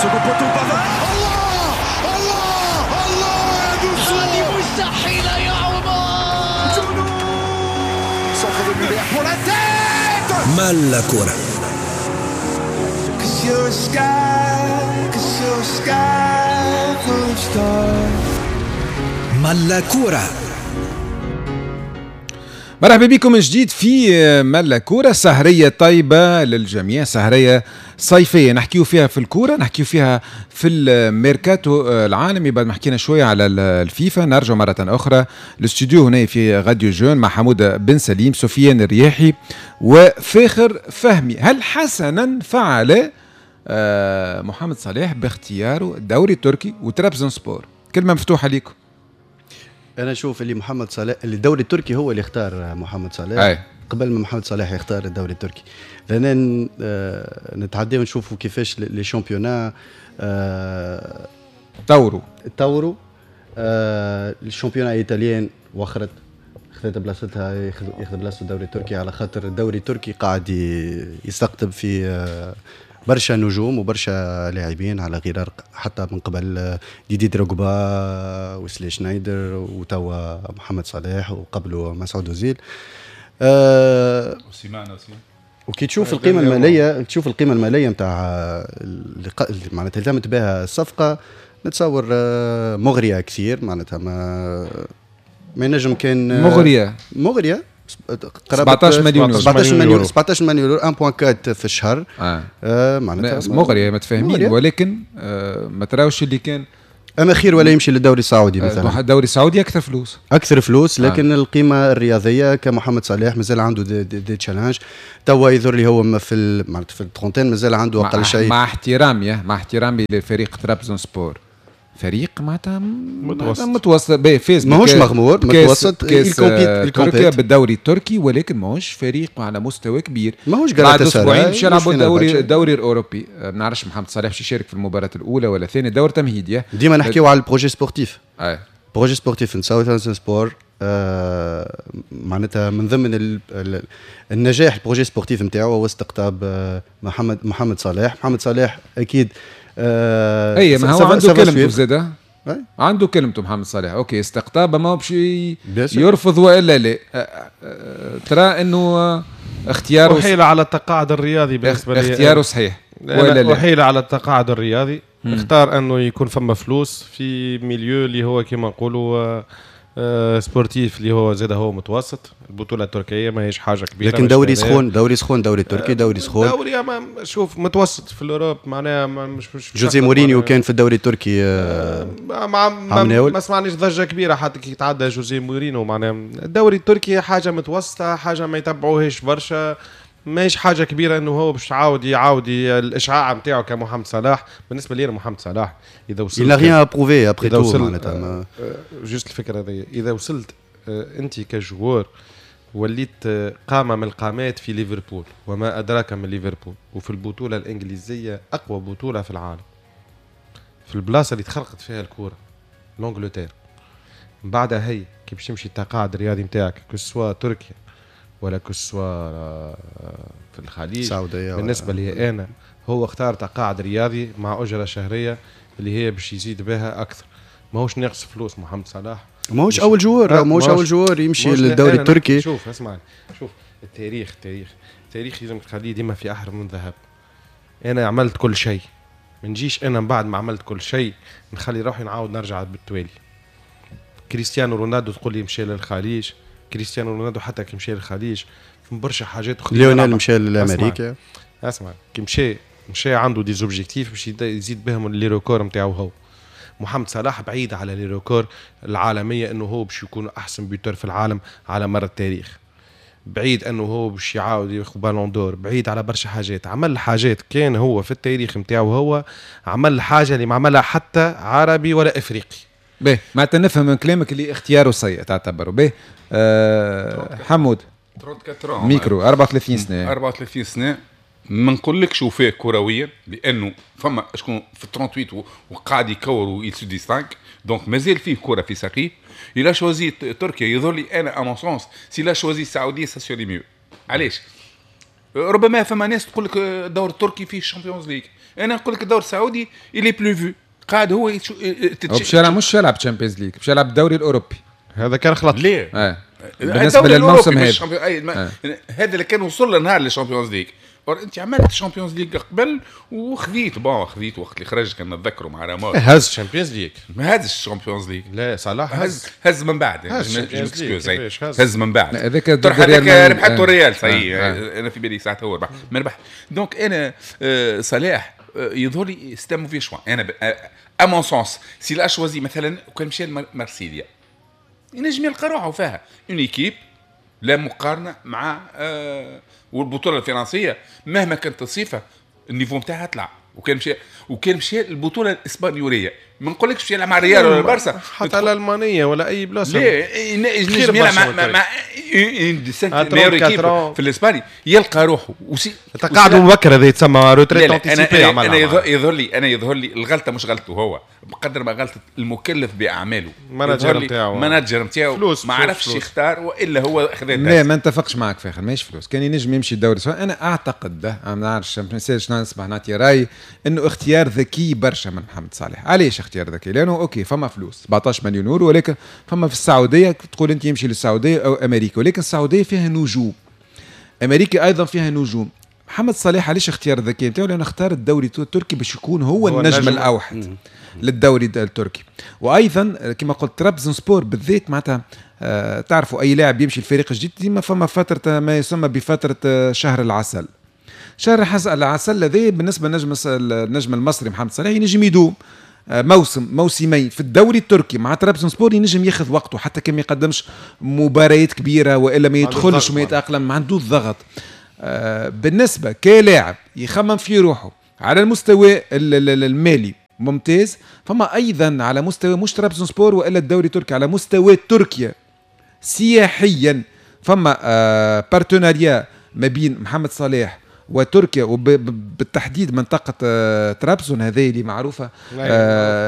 Second poteau Pavard. الله الله الله يا هذه مستحيلة يا عمر. جنون. Centre de Muller pour la tête. مالا كورة. Cause you're a sky, cause you're a sky full of stars. مالا كورة. مرحبا بكم من جديد في ملا كورة. سهرية طيبة للجميع، سهرية صيفية نحكيو فيها في الكورة، نحكيو فيها في الميركاتو العالمي. بعد ما حكينا شوية على الفيفا نرجع مرة أخرى الاستوديو هنا في راديو جون مع حمودة بن سليم، سفيان الرياحي وفاخر فهمي. هل حسنا فعل محمد صلاح باختياره الدوري التركي وترابزون سبور؟ كلمة مفتوحة لكم. انا اشوف اللي محمد صلاح، اللي الدوري التركي هو اللي اختار محمد صلاح. أي. قبل ما محمد صلاح يختار الدوري التركي، لان نتعداو ونشوفوا كيفاش les championnats طوروا طوروا. ال championnat italien وخرت، خذت بلاصتها، ياخذ بلاصة الدوري التركي، على خاطر الدوري التركي قاعد يستقطب في برشا نجوم وبرشا لاعبين، على غرار حتى من قبل ديدي دروغبا، وسلي شنايدر، وتوا محمد صلاح، وقبله مسعود اوزيل. وسيمان aussi. وكي تشوف القيمة الماليه، تشوف القيمة المالية نتاع اللي معناتها التمت بها الصفقه، نتصور مغرية كثير، معناتها ما ينجم كان مغريه. مغريه. 17 مليون يورو. 17 مليون، 17 مليون يورو، 1.4 في الشهر. معناتها مغرية متفاهمين، ولكن ما تراوش اللي كان اما خير ولا يمشي للدوري السعودي مثلا؟ الدوري السعودي اكثر فلوس. اكثر فلوس، لكن القيمة الرياضية كمحمد صلاح مازال عنده des challenges. توا يظهر لي هو في معناتها في ال trentaine، مازال عنده اقل شيء. مع احترامي لفريق ترابزون سبور، فريق معناتها متوسط. متوسط، فاز ماهوش مغمور، متوسط. كاس تركيا بالدوري التركي، ولكن ماهوش فريق على مستوى كبير. ماهوش. بعد اسبوعين باش يلعبوا الدوري الاوروبي. ما نعرفش محمد صلاح باش يشارك في المباراة الاولى ولا الثانيه، دور تمهيدي. ديما نحكيو على ال projet sportif. Projet sportif نساوي سبور معناتها من ضمن النجاح ال projet sportif نتاعو هو استقطاب محمد صلاح. محمد صلاح اكيد. اي، ما هو عنده كلمته زاده، عنده كلمته محمد صلاح. OK، استقطاب، ما هو باش يرفض والا لا. ترى انه اختياره أحيل على التقاعد الرياضي بالنسبة لي. اختياره صحيح ولا لا؟ أحيل على التقاعد الرياضي. اختار انه يكون فما فلوس في milieu اللي هو كما نقولوا sportif، اللي هو زاد هو متوسط. البطولة التركية ماهيش حاجة كبيره. لكن دوري سخون، دوري سخون، دوري التركي دوري سخون. دوري ما شوف متوسط في l'Europe، معناها مش جوزي مورينيو كان في الدوري التركي. ما سمعناش ضجه كبيرة حتى كي تعدى جوزي مورينيو. معناها الدوري التركي حاجة متوسطه، حاجة ما يتبعوهاش برشا، ماهيش حاجة كبيرة انه هو باش يعاود الاشعاع نتاعو كمحمد صلاح. بالنسبة لي محمد صلاح اذا وصلت il n'a rien à prouver après tout معناتها. juste الفكرة هذه، اذا وصلت انت ك joueur وليت قامه من القامات في ليفربول، وما ادراك من ليفربول، وفي البطولة الانجليزيه، اقوى بطوله في العالم، في البلاصة اللي تخلقت فيها الكوره، l'Angleterre، من بعدها هي كي باش تمشي التقاعد الرياضي نتاعك، que ce soit تركيا ولا que ce soit في الخليج. السعودية. بالنسبة لي انا هو اختار تقاعد رياضي مع اجره شهرية اللي هي باش يزيد بها اكثر. ماهوش ناقص فلوس محمد صلاح. ماهوش اول joueur، ماهوش اول joueur يمشي للدوري التركي. شوف، اسمعني، شوف التاريخ، التاريخ، التاريخ لازم تخليه ديما في احرف من ذهب. انا عملت كل شيء، ما نجيش انا من بعد ما عملت كل شيء نخلي روحي نعاود نرجع بالتوالي. كريستيانو رونالدو تقول لي مشى للخليج؟ كريستيانو رونالدو حتى كي مشى للخليج في برشا حاجات اخرى. ليونيل مشى لامريكا. اسمع، كي مشى عنده des objectifs باش يزيد بهم les records نتاعو هو. محمد صلاح بعيد على les records العالميه، انه هو باش يكون احسن buteur في العالم على مر التاريخ، بعيد انه هو باش يعاود ياخذ ballon d'or، بعيد على برشا حاجات. عمل حاجات كان هو في التاريخ نتاعو، هو عمل حاجة اللي ما عملها حتى عربي ولا افريقي. باهي، معناتها نفهم من كلامك اللي اختياره سيء تعتبره. باهي، حمود. 34. ميكرو، 34 سنه. 34 سنه، ما نقولكش وفاه كرويا، لانه فما شكون في 38 وقاعد يكور و il se distingue، donc مازال فيه كره في ساقيه. il a choisi تركيا، يظهر لي انا à mon sens s'il a choisi السعودية ça serait mieux. علاش؟ ربما فما ناس تقول لك الدور التركي فيه ال Champions League، انا نقول لك الدور السعودي il est plus vu قاعد هو باش يلعب، مش يلعب Champions League، باش يلعب الدوري الاوروبي. هذا كان خلط ليه؟ بالنسبة للموسم هذا هذا اللي كان وصل لنهار لل Champions League. انت عملت Champions League قبل وخذيت bon خذيت وقت اللي خرج كان نتذكروا مع راموس هز Champions League. ما هزش Champions League، لا صلاح هز من بعد، هز من بعد هذاك ربحته الريال صحيح. انا في بالي ساعتها هو ربح ما ربح. donc انا صلاح يظهر لي c'est un mauvais choix. انا à mon sens s'il a choisi مثلا وكان مشى لمارسيليا ينجم يلقى روحه فيها une équipe لا مقارنة مع والبطوله الفرنسية مهما كانت الصفة ال niveau نتاعها طلع. وكان مشى البطولة الاسبانيوليه ما نقولكش باش يلعب مع الريال ولا البارسا حتى الالمانية ولا اي بلاصة، لا ينجم يلعب مع meilleure équipe في الاسباني يلقى روحه. تقاعد مبكر هذا يتسمى retraite anticipée. انا يظهر لي الغلطة مش غلطته هو بقدر ما غلطه المكلف باعماله، ال manager نتاعو، ال manager نتاعو ما عرفش يختار والا هو خذا. لا ما نتفقش معك فاخر، ماهيش فلوس، كان ينجم يمشي الدوري. انا اعتقد ده ما نعرفش ما نسالش نسمح نعطي راي انه اختيار ذكي برشا من محمد صالح. علاش اختيار ذكي؟ لانه OK فما فلوس 17 مليون يورو، ولكن فما في السعودية تقول انت يمشي للسعودية او امريكا، ولكن السعودية فيها نجوم، امريكا ايضا فيها نجوم. محمد صلاح علاش اختيار ذكي نتاعو؟ لانه اختار الدوري التركي باش يكون هو النجم الاوحد للدوري التركي. وايضا كما قلت ترابزون سبور بالذات معناتها تعرفوا اي لاعب يمشي الفريق الجديد ديما فما فترة ما يسمى بفترة شهر العسل. شهر العسل هذا بالنسبة للنجم المصري محمد صلاح ينجم يدوم موسم موسمين في الدوري التركي مع ترابزون سبور، ينجم ياخذ وقته حتى كان ما يقدمش مباريات كبيرة والا ما يدخلش وما يتاقلم، ما عندوش ضغط. بالنسبة كلاعب يخمم في روحه على المستوى المالي ممتاز، فما ايضا على مستوى مش ترابزون سبور والا الدوري التركي، على مستوى تركيا سياحيا فما partenariat ما بين محمد صلاح وتركيا وبالتحديد منطقة ترابزون هذه اللي معروفة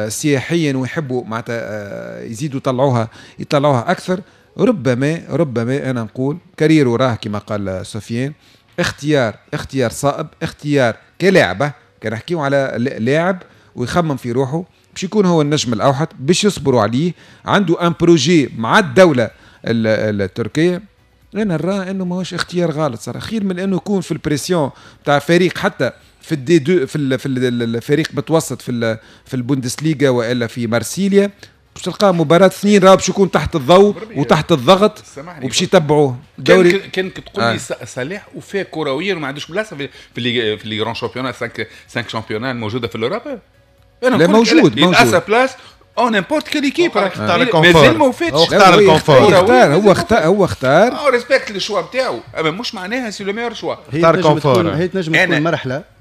سياحيا ويحبوا معناتها يزيدوا يطلعوها أكثر. ربما أنا نقول carrière راه كما قال سفيان اختيار صائب، اختيار كلاعبة. كان نحكيو على لاعب ويخمم في روحه باش يكون هو النجم الأوحد، باش يصبروا عليه، عنده un projet مع الدولة التركية. انا نرى انه ماهوش اختيار غلط صراحة، خير من انه يكون في ال pression تاع فريق حتى في ال D2 في الفريق متوسط في البوندسليغا والا في مارسيليا، باش تلقاه مباراة اثنين راه باش يكون تحت الضوء وتحت الضغط وباش يتبعوه. دوري كان تقول لي صلاح وفاه كرويا وما عندوش بلاصة في les grands championnats 5 championnats الموجودة في l'Europe، انا لا موجود à sa place en n'importe quelle équipe، مازال ما وفاتش. اختار ال confort، هو اختار respecte le choix نتاعو، اما مش معناها c'est le meilleur choix. اختار confort. هي تنجم تكون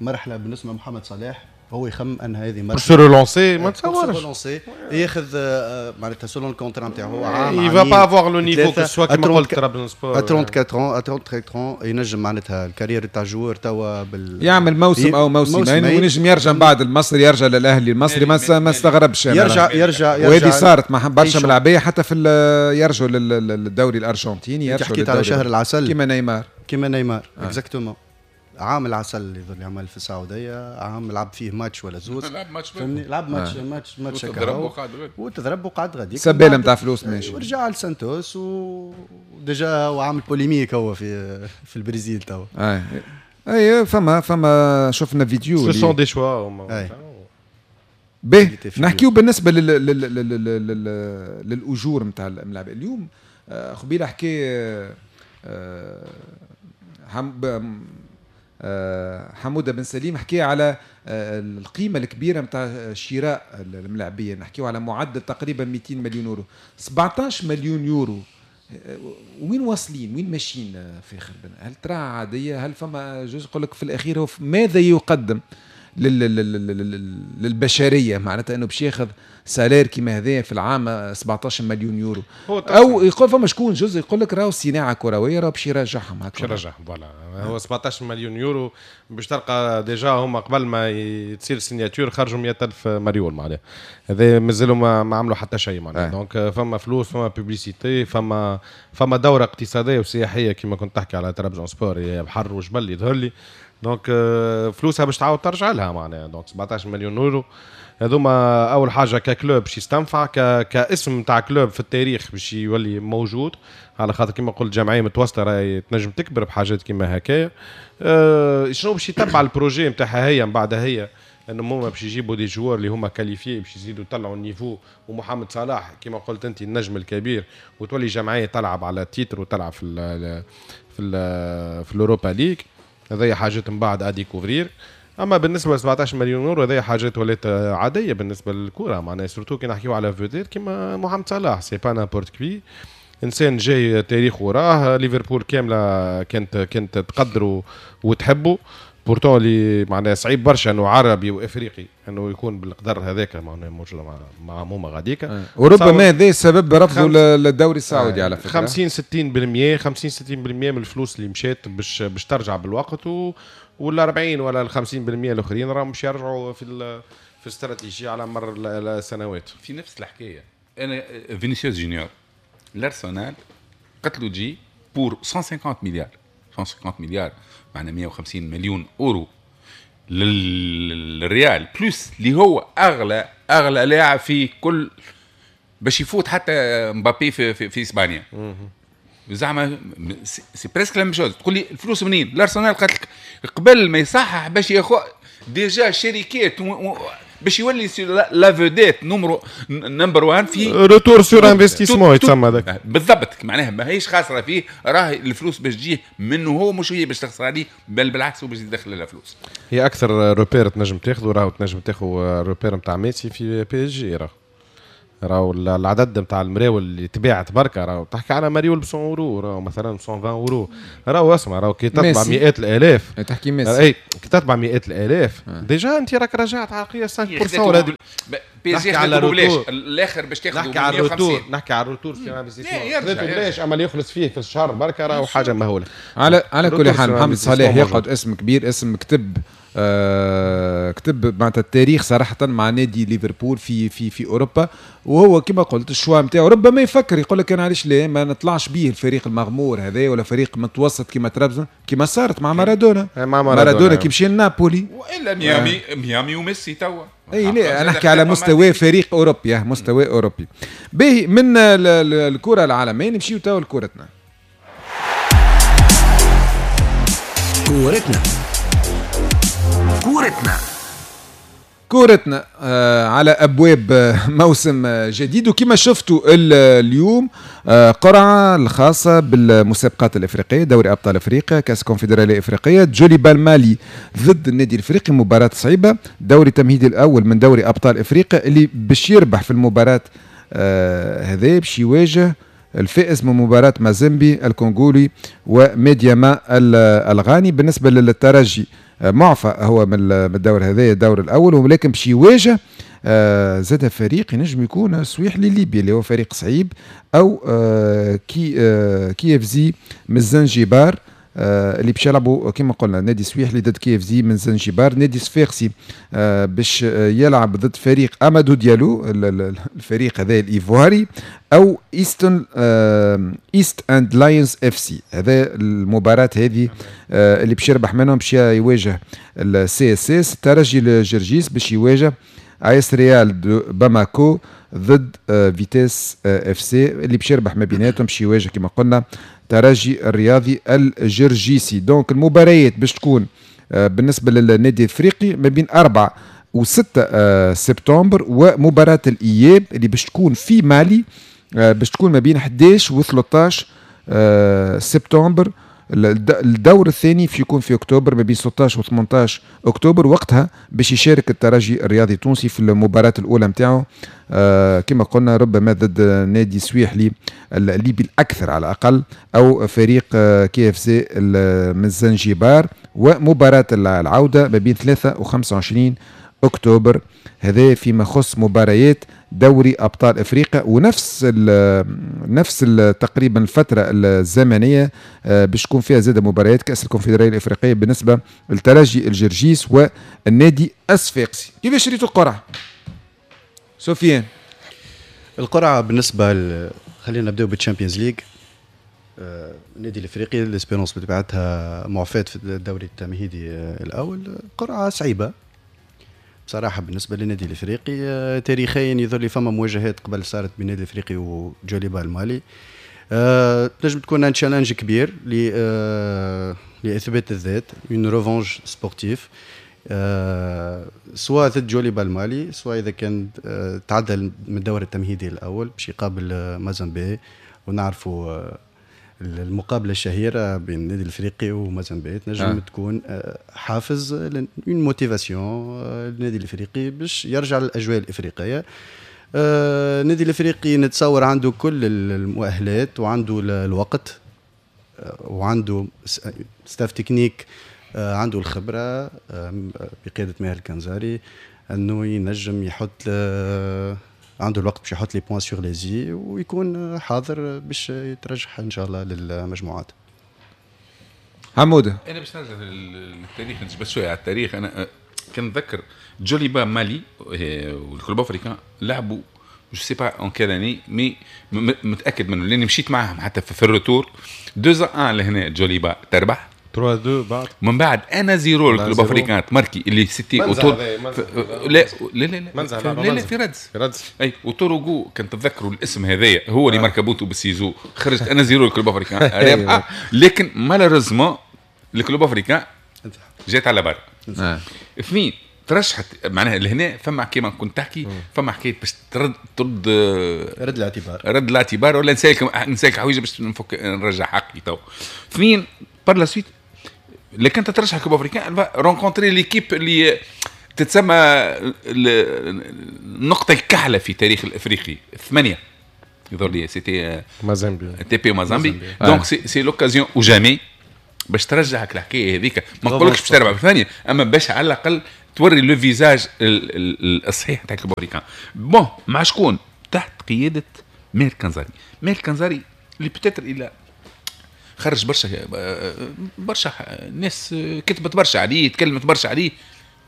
مرحلة بالنسبة لمحمد صلاح، هو يخمم ان هذه مرحلة se relancer، ما تصورش ياخذ معناتها selon ال contrat نتاعو عام، il va pas avoir le niveau que ce soit كيما قلت ترابزون سبور 34 ينجم معناتها ال carrière تاع joueur توا يعمل موسم او موسمين وينجم يرجع من بعد المصري، يرجع للاهلي المصري ما استغربش يرجع وهذه صارت مع برشا ملاعبيه حتى في يرجعوا للدوري الارجنتيني، يرجعوا حكيت على شهر العسل كيما نيمار exactement. عام العسل اللي عمل في السعودية، عام لعب فيه ماتش ولا زوز، لعب ماتش فهمني، لعب ماتش ماتش وتضرب وقعد غادي سباله نتاع فلوس ماشي، ورجع لسانتوس و déjà وعامل polémique هو في البرازيل توا. اي فما شفنا فيديو ce sont des choix. به نحكيو بالنسبة للاجور نتاع الملاعب اليوم. قبيلة حكي حموده بن سليم حكي على القيمة الكبيرة نتاع شراء الملاعبيه، نحكيو على معدل تقريبا 200 مليون يورو، 17 مليون يورو. وين واصلين؟ وين ماشيين في خربنا؟ هل ترى عادية؟ هل فما جزء يقول لك في الاخير هو ماذا يقدم للبشرية؟ معناتها انه باش ياخذ salaire كيما هذايا في العام 17 مليون يورو. او يقول فما شكون جزء يقول لك راهو صناعة كروية، راهو باش يرجعهم هكا، باش يرجعهم voilà. هو 17 مليون يورو باش تلقى déjà هما قبل ما تصير signature خرجوا 100,000 مريول، معناها هذا مازالوا ما عملوا حتى شيء معناها. donc فما فلوس، فما publicité، فما دوره اقتصادية وسياحيه كما كنت تحكي على ترابزون سبور، بحر وجبل يظهر لي. donc فلوسها باش تعاود ترجع لها معناها. donc 17 مليون يورو هذوما اول حاجة ك club باش يستنفع، كاسم تاع club في التاريخ باش يولي موجود، على خاطر كما قلت جمعية متوسطه راهي تنجم تكبر بحاجات كما هكايا. شنو باش يتبع ال projet نتاعها هي من بعدها، هي انه هما باش يجيبوا des joueurs اللي هما qualifiés باش يزيدوا يطلعوا ال niveau، ومحمد صلاح كما قلت انت النجم الكبير، وتولي جمعية تلعب على titre وتلعب في ال في ال في ال Europa League. هذه حاجات من بعد à découvrir. اما بالنسبة ل 17 مليون يورو هذه حاجات ولات عادية بالنسبة للكرة معناها، surtout كي نحكيو على vedette كيما محمد صلاح، c'est pas n'importe qui، انسان جاي تاريخ وراه، ليفربول كاملة كانت تقدره وتحبه، pourtant اللي معناها صعيب برشا انه عربي وافريقي انه يكون بالقدر هذاك معناها موجود مع هما غاديكا. وربما هذا سبب رفضه للدوري السعودي على فكرة. 50 60% 50 60% من الفلوس اللي مشات باش ترجع بالوقت، ولا 40 ولا 50% الاخرين راهم باش يرجعوا في الاستراتيجية على مر السنوات. في نفس الحكاية انا فينيسيوس جونيور الارسنال قتلوا جي pour 150 مليار، 150 مليار معنا 150 مليون اورو للريال، plus اللي هو اغلى لاعب في كل، باش يفوت حتى مبابي في, في, في اسبانيا. زعما c'est presque la même chose. تقول لي الفلوس منين؟ الارسنال قالت لك قبل ما يصحح باش ياخذ déjà شركات باش يولي la vedette number 1 في retour sur investissement يتسمى هذاك بالضبط. معناها ماهيش خاسرة فيه، راه الفلوس باش تجيه منه هو، مش هي باش تخسر عليه، بل بالعكس هو باش يدخل لها فلوس. هي اكثر repère تنجم تاخذه، راهو تنجم تاخذ repère نتاع ميسي في PSG، راهو العدد نتاع المراول اللي تباعت بركة، راهو تحكي على مريول ب 100 اورو، راهو مثلا 120 اورو، راهو اسمع راهو كي تطبع مئات الالاف، تحكي ميسي، اي كي تطبع مئات الالاف déjà انت راك رجعت على قياس 5% ولا PSG على بلاش الاخر باش تاخذ 150. نحكي على ال retour sur investissement بلاش، اما اللي يخلص فيه في الشهر بركة راهو حاجة مهولة. على كل حال محمد صلاح يقعد اسم كبير، اسم كتب كتب معناتها التاريخ صراحة مع نادي ليفربول في في في أوروبا، وهو كما قلت ال choix نتاعو ربما يفكر يقول لك أنا علاش لا ما نطلعش به الفريق المغمور هذا ولا فريق متوسط كما ترابزون، كما صارت مع مارادونا. مع مارادونا كي مشى لنابولي والا ميامي، ميامي وميسي توا. اي لا انا نحكي على مستوى فريق اوروبي، مستوى اوروبي. باهي من الكرة العالمية نمشيو توا لكرتنا. كورتنا كورتنا كورتنا على أبواب موسم جديد، وكما شفتوا اليوم قرعة الخاصة بالمسابقات الإفريقية، دوري أبطال أفريقيا، كأس كونفدرالية إفريقية، جوليبال مالي ضد النادي الإفريقي، مباراة صعيبة، دوري تمهيدي الأول من دوري أبطال أفريقيا، اللي باش يربح في المباراة هذا باش يواجه الفائز من مباراة مازيمبي الكونغولي وميدياما الغاني. بالنسبة للترجي معفى هو من الدور هذا الدور الأول، ولكن باش يواجه زاد فريق ينجم يكون سويحلي ليبيا اللي هو فريق صعيب، أو كي KFC من زنجبار، اللي باش يلعبوا كما قلنا نادي سويحلي ضد KFC من زنجبار، نادي صفاقسي باش يلعب ضد فريق امادو ديالو الفريق هذا الايفواري، او ايست اند لاينز FC. هذا المباراة هذه اللي باش يربح منهم باش يواجه ال CSS. الترجي الجرجيس باش يواجه ايس ريال دو باماكو ضد فيتيس FC، اللي باش يربح ما بيناتهم باش يواجه كما قلنا ترجي الرياضي الجرجيسي. donc المباريات باش تكون بالنسبة للنادي الافريقي ما بين 4 و6 سبتمبر، ومباراة الإياب اللي باش تكون في مالي باش تكون ما بين 11 و 13 سبتمبر. الدور الثاني في يكون في اكتوبر ما بين 16 و 18 اكتوبر، وقتها باش يشارك الترجي الرياضي التونسي في المباراة الاولى نتاعو كما قلنا ربما ضد نادي سويحلي الليبي الاكثر على الاقل، او فريق KFC من زنجبار. ومباراة العودة ما بين 3 و 25 اكتوبر. هذا فيما يخص مباريات دوري ابطال افريقيا، ونفس ال نفس ال تقريبا الفترة الزمنية باش تكون فيها زاد مباريات كاس الكونفدراليه الافريقية بالنسبة للترجي الجرجيس والنادي الصفاقسي. كيفاش ريتوا القرعة؟ سفيان. القرعة بالنسبة خلينا نبداو بال Champions League. النادي الافريقي l'Espérance بطبيعتها معفاة في الدوري التمهيدي الاول. قرعه صعيبة بصراحة بالنسبة للنادي الافريقي. تاريخيا يظهر لي فما مواجهات قبل صارت بين النادي الافريقي وجوليبا المالي. تنجم تكون un challenge كبير لاثبات الذات، une revanche sportive، سواء ضد جوليبا المالي، سواء اذا كان تعدى من الدور التمهيدي الاول باش يقابل مازامبي. ونعرفوا المقابلة الشهيرة بين النادي الافريقي ومازامبي تنجم تكون حافز، une motivation للنادي الافريقي باش يرجع للاجواء الافريقيه. النادي الافريقي نتصور عنده كل المؤهلات وعنده الوقت وعنده staff technique عنده الخبرة بقيادة ماهر الكنزاري، انه ينجم يحط عنده الوقت باش يحط les points sur les i ويكون حاضر باش يترشح ان شاء الله للمجموعات. حموده. انا باش نرجع للتاريخ، نجبد شوية على التاريخ. انا كان نتذكر جوليبا مالي وال Club Africain لعبوا، je sais pas en quelle année، mais متاكد منه لاني مشيت معاهم حتى في ال retour 2-1 لهنا جوليبا تربح. 3-2 بعد. من بعد 1-0 ال Club Africain تماركي اللي c'était autour. لا لا لا لا، لا لا، في ردز. في ردز. اي، وتوروغو كان تتذكروا الاسم هذايا، هو اللي ماركا بوتو بال ciseaux، خرجت 1-0 ال Club Africain رابحه، لكن malheureusement ال Club Africain جات على بر. اثنين ترشحت، معناها لهنا فما كيما كنت تحكي، فما حكاية باش ترد رد الاعتبار. رد الاعتبار ولا نسالك حويجه باش نفك نرجع حقي تو. اثنين par la suite لكن تترشح Club Africain rencontrer l'équipe اللي تتسمى النقطة الكحلة في تاريخ الافريقي، ثمانية يظهر لي c'était مازامبي. تي بي مازامبي. donc c'est l'occasion ou jamais باش ترجعك الحكاية هذيك. ما نقولكش باش تربح بثانيه، اما باش على الاقل توري le visage الصحيح تاع Club Africain. bon، مع شكون؟ تحت قيادة ماهر كنزاري. ماهر كنزاري اللي peut-être الى خرج برشا برشا ناس، كتبت برشا عليه، تكلمت برشا عليه.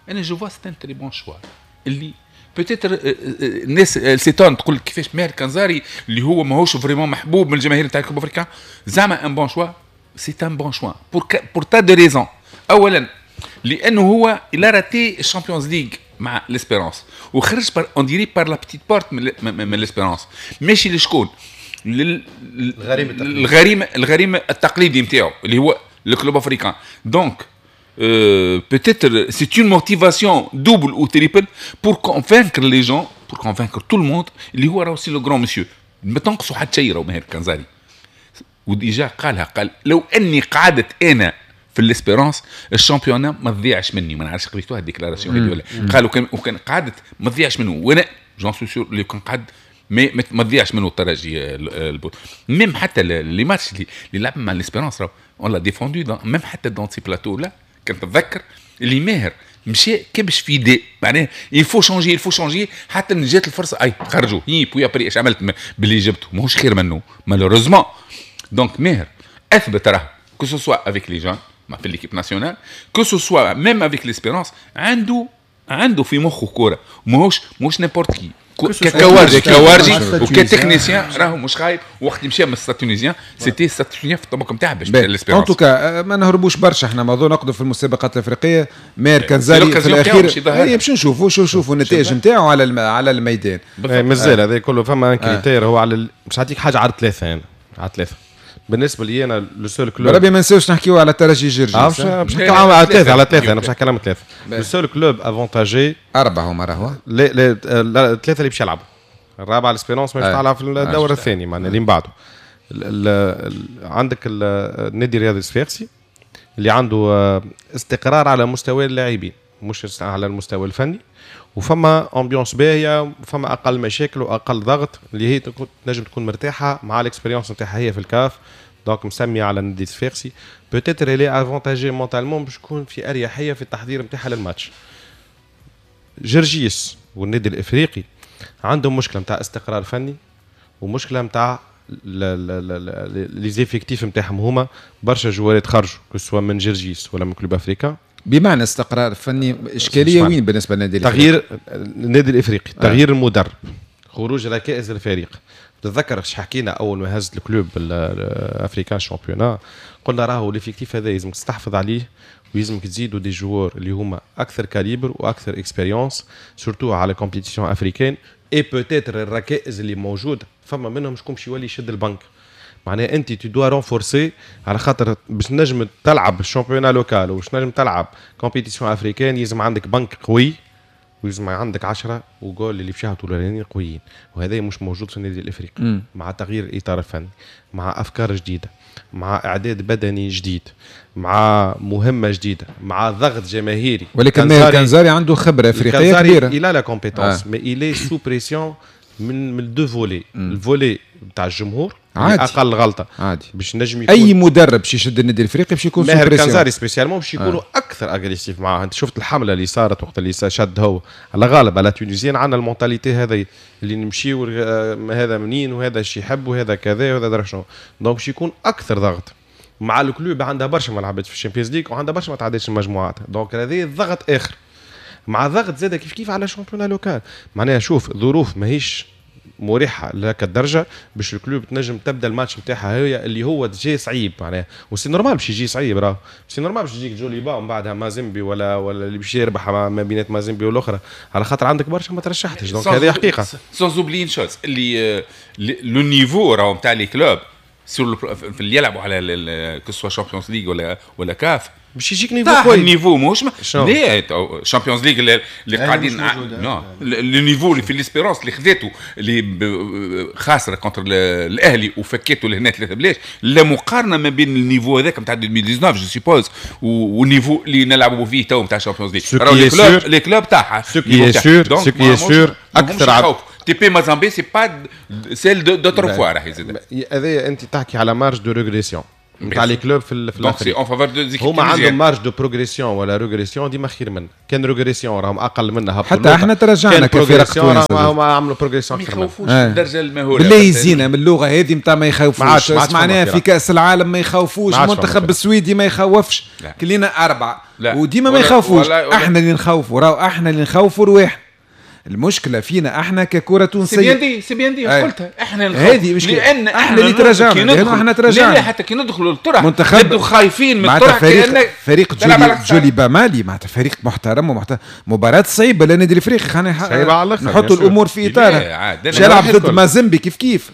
انا je vois c'est un très bon choix اللي peut-être الناس s'étonne، تقول كيفاش ماهر كنزاري اللي هو ماهوش vraiment محبوب من الجماهير نتاع Club Africain زعما un bon choix؟ c'est un bon choix pour tas de raisons. اولا لانه هو il a raté ال Champions League مع l'Espérance وخرج par on dirait par la petite porte من l'Espérance. ماشي لشكون؟ الغريم التقليدي. الغريم التقليدي نتاعو اللي هو ال Club Africain. donc peut-être c'est une motivation double ou triple pour convaincre les gens، pour convaincre tout le monde اللي هو راهو c'est le grand monsieur. ما تنقصوا حتى شيء، راهو ماهر كنزاري و déjà قالها، قال لو اني قعدت انا في l'Espérance ال championnat ما تضيعش مني. ما نعرفش قريتوها ال déclaration هذه ولا. قالوا كان وكان قعدت ما تضيعش منه، وانا j'en suis sûr اللي كان قعد ما تضيعش منه الترجي البطولة. même حتى les matchs اللي لعب مع l'Espérance راهو on l'a défendu même حتى dans ces plateaux-là. كان تتذكر اللي ماهر مشى كبش في دي، معناها il faut changer، il faut changer، حتى ان جات الفرصة اي خرجوا et puis après اش عملت باللي جبته؟ ماهوش خير منه malheureusement. donc ماهر اثبت راه que ce soit avec les jeunes في l'équipe nationale، que ce soit même avec l'Espérance، عنده في مخه كوره، ماهوش n'importe qui كوارجي وك technicien راهو مش خايب. وقت مشى من ال Stade Tunisien، c'était Stade Tunisien في الطبق نتاعها باش l'Espérance. en tout cas ما نهربوش برشا، احنا موضوع نقدر في المسابقات الافريقيه. ماهر كنزاري في الاخير هي باش نشوفوا شو نشوفوا النتائج نتاعو على الميدان. مازال هذا كله فما critère هو على مش نعطيك حاجة على ثلاثه، انا على ثلاثة بالنسبة لي انا le seul club. بربي ما نساوش نحكيو على الترجي جرجي. باش نحكيو على ثلاثه، على ثلاثه، انا باش نحكي على ثلاثة. le seul club avantagé. اربعة هما راهو. لا لا، ثلاثة اللي باش يلعبوا، الرابعة l'Espérance ما تلعب في الدور الثاني، معناها اللي من بعده عندك النادي الرياضي الصفاقسي اللي عنده استقرار على مستوى اللاعبين مش على المستوى الفني، وفما ambiance باهيه، فما اقل مشاكل واقل ضغط، اللي هي تنجم تكون مرتاحة مع l'expérience نتاعها هي في الكاف. donc مسميه على النادي الصفاقسي peut-être elle est avantagée mentalement باش تكون في اريحية في التحضير نتاعها للماتش. جرجيس والنادي الافريقي عندهم مشكلة نتاع استقرار فني ومشكلة نتاع les effectifs نتاعهم. هما برشا جوارات خرجوا سواء من جرجيس ولا من Club Africain. بمعنى استقرار فني اشكالية وين بالنسبة للنادي الافريقي؟ تغيير النادي الافريقي، تغيير المدرب، خروج ركائز الفريق. تتذكر اش حكينا اول ما هزت ال Club Africain championnat، قلنا راهو l'effectif هذا لازمك تستحفظ عليه ويلزمك تزيدوا des joueurs اللي هما اكثر calibre واكثر expérience surtout على compétition africaine. et peut-être الركائز اللي موجودة فما منهم شكون باش يولي يشد البنك. معناها انت tu dois renforcer على خاطر باش نجم تلعب ال championnat local وباش نجم تلعب compétition africaine لازم عندك بنك قوي ويلزم عندك 10 وجول اللي باش يهبطوا الاولانيين قويين، وهذا مش موجود في النادي الافريقي. مع تغيير الاطار الفني، مع افكار جديدة، مع اعداد بدني جديد، مع مهمة جديدة، مع ضغط جماهيري. ولكن ماهر كنزاري عنده خبره افريقية كبيرة. il a la compétence mais il est sous pression من deux volets. ال volet تاع الجمهور عادي. اقل غلطه عادي باش نجم يكون اي مدرب باش يشد النادي الافريقي باش يكون ماهر كنزاري spécialement باش يكونوا اكثر agressif معاه. انت شفت الحملة اللي صارت وقت اللي شد هو على غالب على tunisiens عندنا ال mentalité هذا اللي نمشيو هذا منين وهذا شي يحب وهذا كذا وهذا درا شنو. donc باش يكون اكثر ضغط مع ال Club. عندها برشا ما لعبتش في ال Champions League وعندها برشا ما تعدتش المجموعات، donc هذا الضغط اخر مع ضغط زاد كيف كيف على championnat local. معناها شوف ظروف ماهيش مريحه لهك الدرجة باش ال Club تنجم تبدا الماتش نتاعها هي اللي هو جاي صعيب. معناها و c'est normal باش يجي صعيب، راه c'est normal باش يجيك جوليبا ومن بعدها مازيمبي ولا اللي باش يربح ما بينات مازيمبي والاخرى، على خاطر عندك برشا ما ترشحتش. donc هذه حقيقة. sans oublier une chose اللي le niveau راهو نتاع les clubs في اللي يلعبوا على que ce soit Champions League ولا كاف باش يجيك niveau قوي. ال niveau ماهوش لا Champions League اللي قاعدين non le niveau اللي في l'Espérance اللي خذاته اللي خاسرة contre الاهلي وفكيته لهنا 3 بلاش، لا مقارنة ما بين ال niveau هذاك نتاع 2019 je suppose وال niveau اللي نلعبوا فيه تو نتاع Champions League. راهو les clubs تاعها ce qui est sûr ce qui est sûr اكثر تي بي مازامبي c'est pas celle d'autrefois. راهي زاد هذا انت تحكي على marge de régression نتاع les clubs في l'Afrique. هما عندهم marge de progression ولا régression ديما خير منا. كان régression راهم اقل منا، حتى احنا تراجعنا كفرق تونس هما عملوا progression اكثر منا. ما يخوفوش الدرجة المهوله بالله يزينا من اللغة هذه نتاع ما يخوفوش. معناها في كاس العالم ما يخوفوش، المنتخب السويدي ما يخوفش، كلينا 4 وديما ما يخوفوش. احنا اللي نخوفوا، راهو احنا اللي نخوفوا رواحنا. المشكلة فينا احنا ككره تونسية. c'est bien dit قلتها احنا هذه مشكلة، لان احنا اللي تراجعنا، احنا تراجعنا. لا حتى كي ندخلوا للطرح نبدو خايفين من الطرح. فريق جوليبا مالي معناتها فريق محترم ومحترم، مباراة صعيبة للنادي الافريقي. خلينا نحطوا الامور في اطارها. يلعب ضد مازيمبي كيف كيف.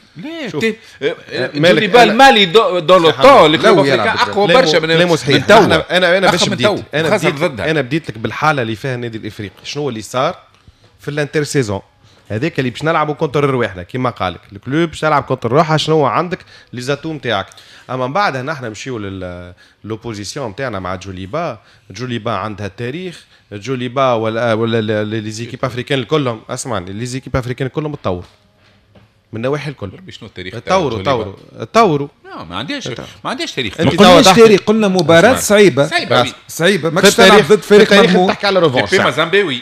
جوليبا المالي dans le temps اللي اقوى برشا من تو. انا باش بديت انا بديت لك بالحالة اللي فيها النادي الافريقي، شنو اللي صار في l'intersaison هذاك اللي باش نلعبوا contre رواحنا كيما قالك ال Club باش تلعب contre روحها. شنو عندك les atouts نتاعك. اما من بعدها نحن نمشيو l'opposition نتاعنا مع جوليبا. جوليبا عندها التاريخ، جوليبا ولا les équipes africaines كلهم. اسمعني، les équipes africaines كلهم تطور من النواحي الكل. شنو التاريخ؟ تطوروا. ما عندهاش تاريخ. ما قلناش تاريخ، قلنا مباراة صعيبة صعيبة. ماكش تلعب ضد فريق مغمور. تحكي على revanche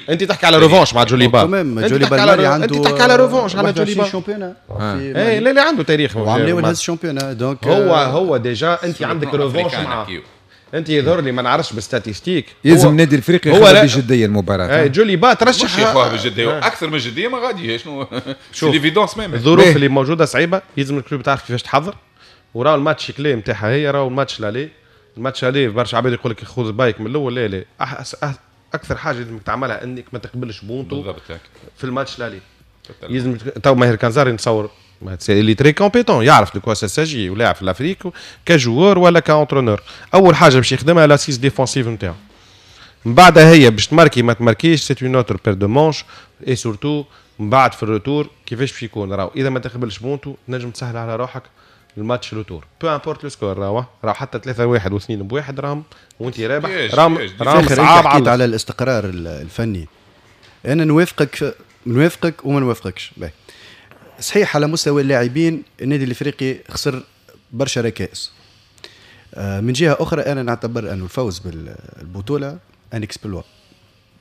انت تحكي على revanche مع جوليبا. انت تحكي على revanche على جوليبا. اي لا لا عنده تاريخ وعملوا هز championnat. donc هو déjà انت عندك revanche معاه. انت يظهر لي ما نعرفش بال statistiques. يلزم النادي الافريقي ياخذ بجدية المباراة. جوليبا ترشح ياخذها بجدية اكثر من جدية ما غادي. شنو c'est l'évidence même. الظروف اللي موجودة صعيبة، يلزم ال Club تعرف كيفاش تحضر. وراو ال match clé نتاعها هي راهو ال match l'aller. ال match aller برشا عباد يقول لك خذ بايك من الاول. لا لا، اكثر حاجة لازمك تعملها انك ما تقبلش بونتو بالضبط في ال match l'aller. لازم تو ماهر كنزاري نتصور il est très compétent، يعرف de quoi ça s'agit ولاعب في l'Afrique ك joueur ولا ك entraîneur. اول حاجة باش يخدمها l'assise défensive نتاعو. من بعدها هي باش تماركي ما تماركيش c'est une autre paire de manches. et surtout من بعد في ال retour كيفاش باش يكون. راهو اذا ما تقبلش بونتو تنجم تسهل على روحك ال match retour peu importe le score. راهو حتى 3-1 و2-1 راهم وانت رابح. راهم صعاب. حكيت على الاستقرار الفني، انا نوافقك وما نوافقكش. صحيح على مستوى اللاعبين النادي الافريقي خسر برشا ركائز. من جهة اخرى انا نعتبر انه الفوز بالبطولة un exploit.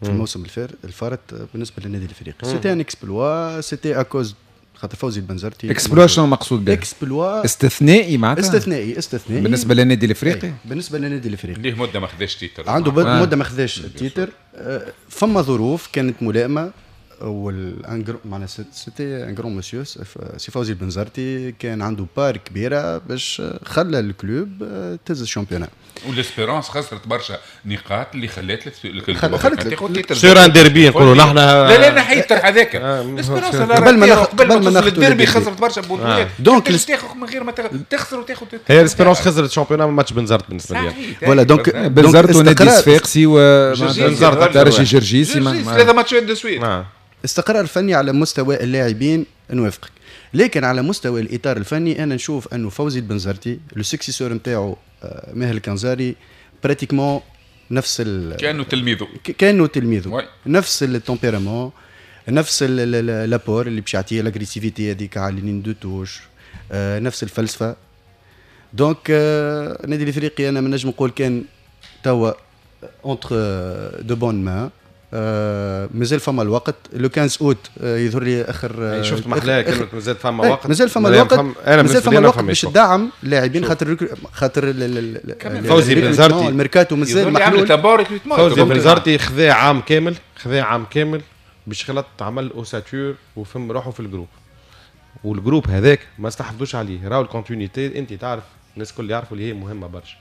في الموسم الفارط بالنسبة للنادي الافريقي. c'était un exploit، c'était à cause خاطر فوزي البنزرتي. exploit شنو مقصود به؟ exploit استثنائي معناتها، استثنائي بالنسبة للنادي الافريقي. بالنسبة للنادي الافريقي ليه مده ما خذاش titre، عنده مده ما خذاش titre. فما ظروف كانت ملائمه، معناها c'était un grand monsieur سي فوزي البنزرتي، كان عنده part كبيرة باش خلى ال club تهز ال championnat. وال Espérance خسرت برشا نقاط اللي خلات sur un derby نقولوا نحن. لا لا نحيت الطرح هذاك. ال Espérance قبل ما توصل للديربي خسرت برشا بطولات، donc تاخذ من غير ما تخسر وتاخذ. هي ال Espérance خسرت ال championnat من ماتش بنزرت بالنسبة لي. voilà donc بنزرت ونادي صفاقسي وترجي جرجيسي، ثلاثة ماتشات de suite. استقرار فني على مستوى اللاعبين نوافقك، لكن على مستوى الاطار الفني انا نشوف انه فوزي البنزرتي le successeur نتاعو ماهر الكنزاري pratiquement نفس كانه تلميذه نفس ال tempérament، نفس l'apport اللي باش يعطيه، l'agressivité هذيك على ligne de touche، نفس الفلسفة. donc النادي الافريقي انا ما نجم نقول كان توا entre de bonnes mains. مازال فما الوقت، le 15 اوت يظهر لي اخر. شفت محلاها كلمة مازال فما وقت، مازال فما الوقت، مازال فما الوقت باش تدعم اللاعبين، خاطر فوزي بنزرتي الميركاتو مازال محلول. فوزي بنزرتي خذا عام كامل، باش خلط عمل ossature وفهم روحه في ال groupe، وال groupe هذاك ما استحفظوش عليه. راهو ال continuité انت تعرف الناس الكل يعرفوا اللي هي مهمة برشا،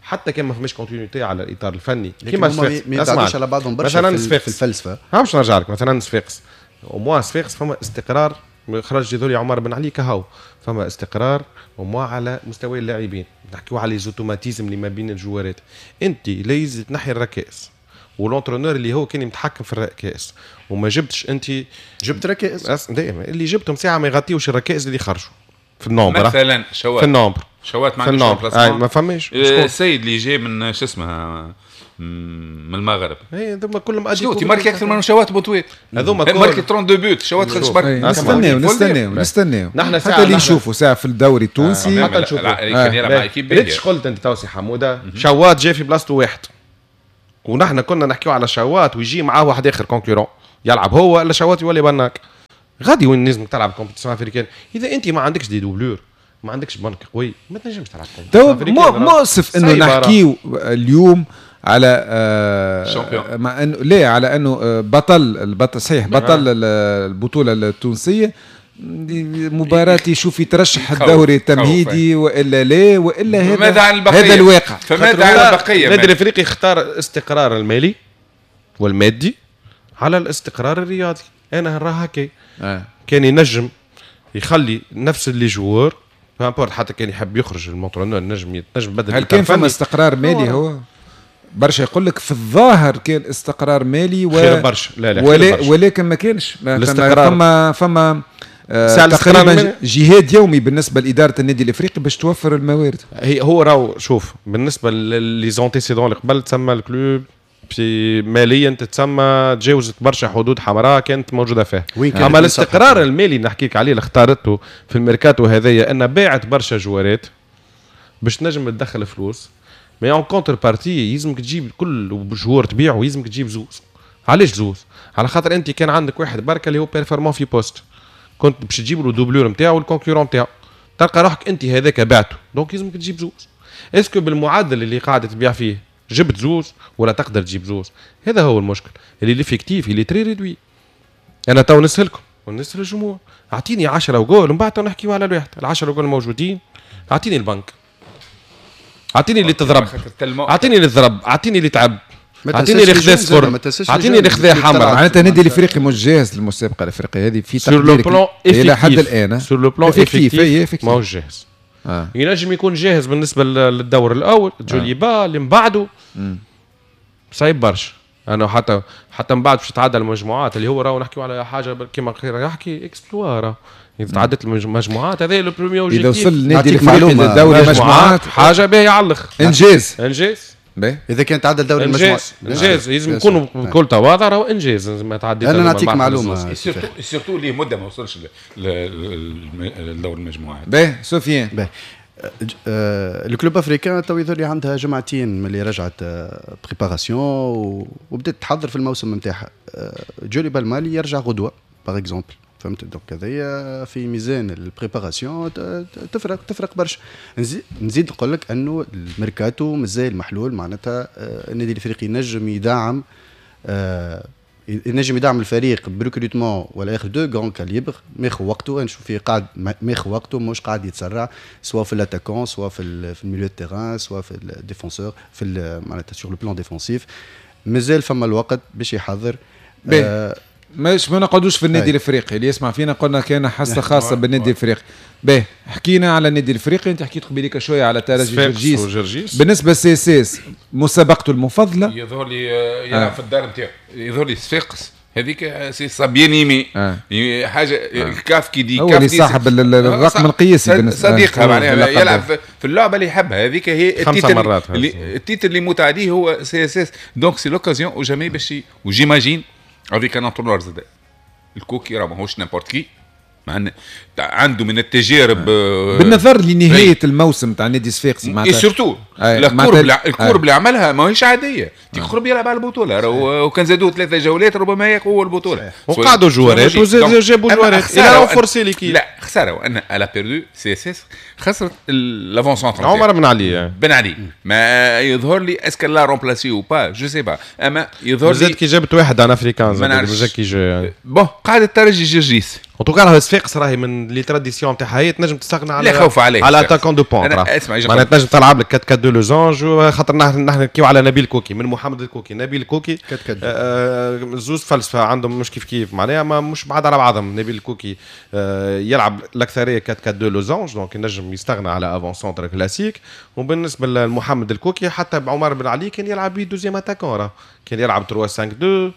حتى كان ما فماش continuité على الاطار الفني كيما صفاقس ما يبعدوش على بعضهم برشا مثلا في الفلسفة. ها باش نرجع لك مثلا صفاقس، au moins صفاقس فما استقرار، خرج يذولي عمر بن علي كهو، فما استقرار au moins على مستوى اللاعبين. نحكيو على les automatismes اللي ما بين الجوارات. انت ليز تنحي الركائز، وال entraîneur اللي هو كان متحكم في الركائز وما جبتش، انت جبت ركائز دائما اللي جبتهم ساعة ما يغطيوش الركائز اللي خرجوا في ال nombre. مثلا شوات في ال nombre، شوات ما عندوش ما فماش. السيد اللي جاي من شو اسمها من المغرب، اي هذوما كلهم اديكو ماركي اكثر من شوات بوتويت، هذوما ماركي 32 buts، شوات خرج برك. نستناو نحن حتى اللي نشوفوا ساعة في الدوري التونسي، حتى نشوفوا كان يلعب مع équipe. ريتش قلت انت توسي حموده، شوات جاي في بلاصته واحد، ونحن كنا نحكيو على شوات ويجي معاه واحد اخر concurrent يلعب هو ولا شوات يولي بناك غادي وين لازمك تلعب compétition africaine. اذا انت ما عندكش des doublures، ما عندكش بنك قوي، ما تنجمش تلعب. تو مؤسف انه نحكيو اليوم على مع انه لا على انه بطل صحيح بطل البطولة التونسية، مباراة يشوف يترشح الدوري التمهيدي والا لا، والا هذا الواقع. فماذا عن البقية؟ النادي الافريقي اختار الاستقرار المالي والمادي على الاستقرار الرياضي. انا نراها هكا. كان ينجم يخلي نفس les joueurs peu importe، حتى كان يحب يخرج ال entraîneur نجم يبدل. هل كان فما استقرار مالي؟ هو برشا يقول لك في الظاهر كان استقرار مالي خير برشا. لا لا ولا برشا. ولكن ما كانش فما تقريبا جهاد يومي بالنسبة لادارة النادي الافريقي باش توفر الموارد. هي هو راهو شوف بالنسبة les antécédents اللي قبل تسمى ال club في ماليا تتسمى تجاوزت برشا حدود حمراء كانت موجودة فيها. اما الاستقرار المالي اللي نحكيك عليه اللي اختارته في الميركاتو هذايا، ان باعت برشا جوارات باش تنجم تدخل فلوس، mais en contrepartie يلزمك تجيب كل joueur تبيعه يلزمك تجيب زوز. علاش زوز؟ على خاطر انت كان عندك واحد بركة اللي هو performant في poste، كنت باش تجيب له doublure نتاعو وال concurrent نتاعو، تلقى روحك انت هذاك بعته، donc يلزمك تجيب زوز. est-ce que بالمعدل اللي قاعدة تبيع فيه جبت زوز ولا تقدر تجيب زوز؟ هذا هو المشكل اللي l'effectif اللي très réduit. انا تو نسهلكم ونسهل الجمهور، اعطيني 10 وجول ومن بعد تو نحكيو على الواحد. ال10 وجول موجودين، اعطيني البنك، اعطيني اللي تضرب، اعطيني اللي ضرب، اعطيني اللي تعب، اعطيني اللي خذا صفر، اعطيني اللي خذا حمر. معناتها النادي الافريقي مش جاهز للمسابقه الافريقية هذه في تقديرك الى حد الان؟ sur le plan effectif ماهوش جاهز. ينجم يكون جاهز بالنسبة للدور الاول جوليبا اللي من بعده صعيب برشا. انا حتى من بعد باش تتعدى المجموعات اللي هو راهو نحكيو على حاجة كيما خير يحكي exploit، اذا تعدت المجموعات هذا le premier objectif. اذا وصل النادي الافريقي لدوري المجموعات حاجة باهيه على الاخر، انجاز باهي. اذا كان تعدى دوري المجموعات انجاز، لازم نكونوا بكل تواضع راهو انجاز. ما تعديت. انا نعطيك معلومة surtout ليه مده ما وصلش لدور المجموعات. باهي سفيان. باهي ال Club Africain تو يظهر لي عندها جمعتين من اللي رجعت préparation وبدات تحضر في الموسم نتاعها. جوليبا المالي يرجع غدوه par exemple، فهمت؟ donc هذايا في ميزان ال préparation تفرق برشا. نزيد نقول لك انه الميركاتو مازال محلول، معناتها النادي الافريقي نجم يدعم الفريق ب recrutement ولا ياخذ deux grands calibres، ماخذ وقته. نشوف فيه قاعد ماخذ وقته، مش قاعد يتسرع، سواء في l'attaquant، سواء في ال milieu terrain، سواء في ال défenseur، في معناتها sur le plan défensif. مازال فما الوقت باش يحضر. مش ما نقعدوش في النادي الافريقي، اللي يسمع فينا قلنا كان حصة خاصة بالنادي الافريقي. باهي، حكينا على النادي الافريقي، انت حكيت قبيليك شوية على ترجي جرجيس. بالنسبة لل CSS مسابقته المفضلة يظهر لي يلعب في الدار نتاعو، يظهر لي صفاقس هذيك c'est sa bien-aimée حاجة الكاف كي دي هو اللي صاحب الرقم القياسي بالنسبة صديقها، معناها يلعب في اللعبة اللي يحبها، هذيك هي ال titre ال titre اللي يموت عليه هو CSS. donc c'est l'occasion ou jamais باش و j'imagine avec un entraîneur زاد الكوكي راه ماهوش n'importe qui، عنده من التجارب بالنظر لنهاية الموسم تاع نادي صفاقسي معناتها et surtout ال courbe اللي عملها ماهيش عادية، تقرب يلعب على البطولة، وكان زادوه 3 جولات ربما يقوى البطولة. وقعدوا جوارات وجابوا جوارات الى renforcer l'équipe. لا خسارة، وان elle a perdu CSS خسرت l'avant-centre عمر بن علي. بن علي ما يظهر لي est-ce que l'a remplacé ou pas je sais pas، اما يظهر لي زاد كي جابت واحد un Africain زاد كي جا bon قاعد الترجي جرجيس. en tout cas راهو صفاقس راهي من les traditions تاعها هي تنجم تستغنى على لا خوف عليه على attaquant de pointe، معناها تنجم تلعب لك 4 4 2 losange، خاطر نحن نحكيو على نبيل كوكي من محمد الكوكي، نبيل كوكي زوز فلسفة عندهم مش كيف كيف، معناها ما مش بعاد على بعضهم. نبيل كوكي يلعب الاكثرية 4 4 2 losange، donc ينجم يستغنى على avant-centre classique. وبالنسبة لمحمد الكوكي حتى بعمر بن علي كان يلعب بيه deuxième attaquant، راه كان يلعب 3 5 2،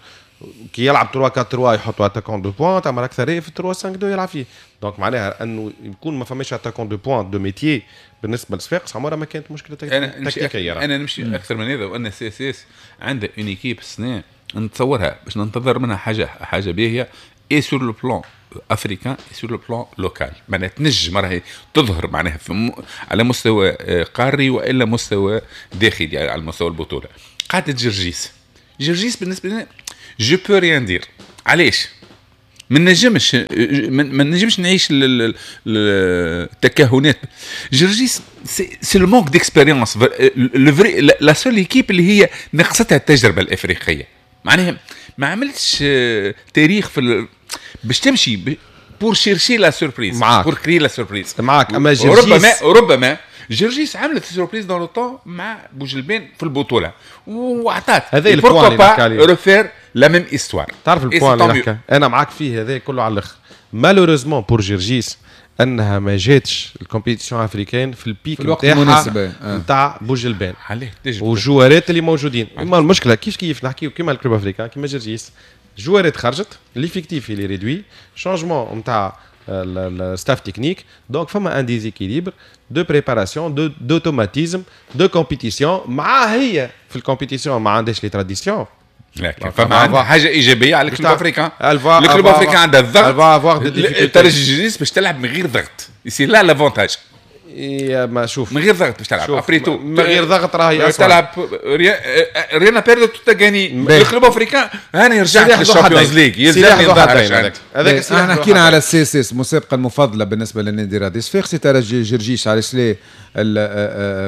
كي يلعب 3 4 3 يحطوا attaquant de pointe، اما الاكثرية في 3 5 2 يلعب فيه. donc معناها انه يكون ما فماش attaquant de pointe de métier بالنسبة لصفاقس عمرها ما كانت مشكلة تكتيكية. انا نمشي اكثر من هذا، وان CSS عندها une équipe السنة نتصورها باش ننتظر منها حاجة باهيه et sur le plan africain et sur le plan local، معناها تنجم راهي تظهر معناها على مستوى قاري والا مستوى داخلي يعني على مستوى البطولة. قعدت جرجيس بالنسبة لنا je peux rien dire. علاش؟ ما نجمش نعيش التكهنات. جرجيس c'est le manque d'expérience، le vrai la seule équipe اللي هي نقصتها التجربة الافريقية، معناها ما عملتش تاريخ في باش تمشي pour chercher la surprise، pour créer la surprise معاك. اما جرجيس ربما جرجيس عملت surprise dans le temps مع بوجلبان في البطولة وعطات هذا ال point اللي نحكي عليه، refaire la même histoire. تعرف ال point اللي نحكي انا معاك فيه هذا كله على الاخر. malheureusement pour جرجيس انها ما جاتش ال compétition africaine في ال pic نتاعها نتاع بوجلبان والجوارات اللي موجودين. اما المشكلة كيف نحكيو كيما ال Club Africain كيما جرجيس، جوارات خرجت، l'effectif il est réduit، changement نتاع ال staff technique، donc فما un déséquilibre de préparation d'automatisme de compétition. مع هي في ال compétition ما عندهاش les traditions، لكن فما حاجة ايجابية على ال Club Africain. ال Club Africain عندها الضغط، الترجي جرجيس باش تلعب من غير ضغط، c'est là l'avantage. يا ما شوف من غير ضغط باش تلعب après tout، من غير ضغط راهي تلعب rien à perdre tout à gagner. ال Club Africain هاني رجعت لل Champions League يلزمني نظهر. هذاك احنا حكينا على ال CSS المسابقة المفضلة بالنسبة للنادي الرياضي صفاقسي، ترجي جرجيس علاش لا